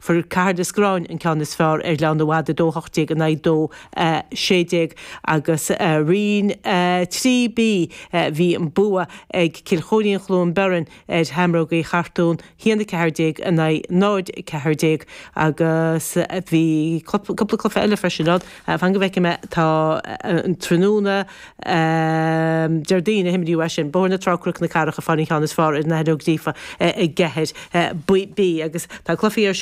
Fuair Cathair na Screáin an ceann is fearr ar Ghleann na bhFad, 2, 18 in aghaidh 2, 16, agus Roinn 3B bhí an bua ag Cill Chóirín Chluain Biorainn ar Sheamrógaí Chartún, 1, 14 in aghaidh 0, 14, agus bhí cúpla cluiche eile freisin ann. Fan go bhfeicfidh mé, tá an tráthnóna Déardaoin a himríodh é sin, Bóthar na Trá Cnoc na Cathrach ag fáil an cheann is fearr ar an Aithin Ó Gríofa i gCeathair B agus tá cluichí ar siúl.